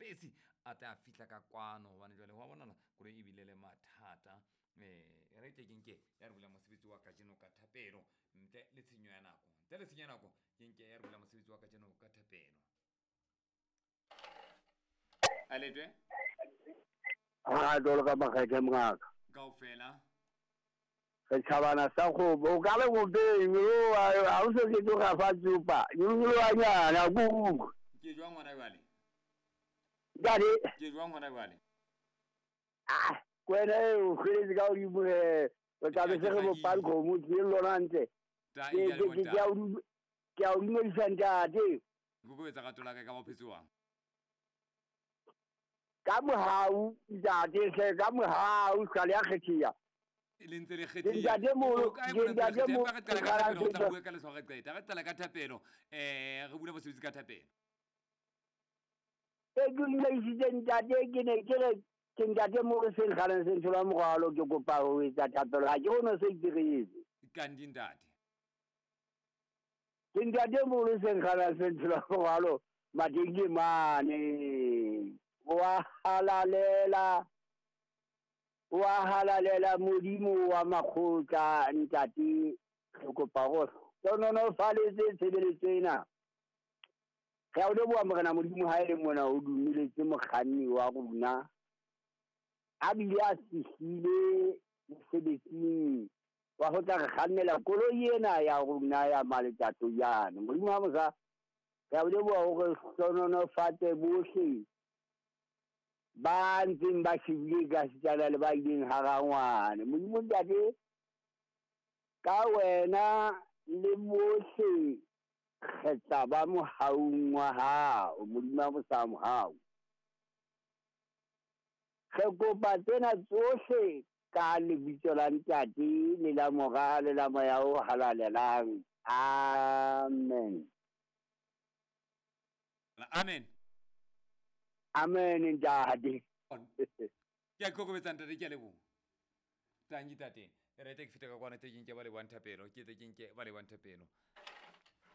Mpesi a tla fihla ka kwano gobane jwale go a bonala koloi e bile le mathata. Um re tle ke nke ya re bula mosebetsi wa kajeno ka thapelo ntle le tshenyo ya nako, ntle le tshenyo ya nako ke nke ya re bula mosebetsi wa kajeno ka thapelo. A letwe a jalo ka makgethe mongaka kaofela setšhabana sa kgopo o ka le gopeng ga o se ke tloga fa tsopa nyolonyolwanyana kuku. Ke jwang gona jwale? Ntate Ke jwang gona jwale? Ah, kwena e o kgweletse ka godimo ge o tla be se re bopang kgomo ke lona ntle. Ta Ke e ke ke- ke a o ke a o dumedisa ntate. Kokobetsa rato la ka ka ba phetse wang. Ka mohau ntate hle, ka mohau ska le a kgetheya. Le ntse le Ke ntate moholo, O kae ke mona ntse le ntate kgetheha? moholo, Empa re qala ka thapelo, re tla ke bua ka letshwao re qeta. Re qala ka thapelo, re bula mosebetsi ka thapelo. E ke dumedisitse ntate, ke ne ke re ke ntate moholo se nkgaleng se ntshola morwalo, ke kopa ho etsa thapelo, ha ke kgone ho se itiretse. Kandi ntate. Ke ntate moholo se nkgaleng se ntshola morwalo, mateng ke mane. Wa halalela, wa halalela Modimo wa makgotla ntate, re kopa hore hlohonolofaletse tshebeletso ena. Re a o leboha Morena Modimo ha e le mona o dumeletse mokganni wa rona a bile a fihlile mosebetsing wa ho tla re kgannela koloi ena ya rona ya Maletato jane. Modimo wa mosa, re a o leboha hore hlohonolofatse bohle ba ntseng ba shebile ka setsana le ba ileng harangwane. Modimo ntate, ka wena le bohle re tla ba mohaung wa hao, Modimo wa mosa mohau. Re kopa tsena tsohle ka lebitso la Ntate le la Mora le la Moya o Halalelang. Amen. Amen. Amen ntate. Ke a ikokobetsa ntate, ke a leboha. Tanki tate. Re tle ke fete ka kwana tle ke nke ba lebohang thapelo, ke tle ke nke ba lebohang thapelo.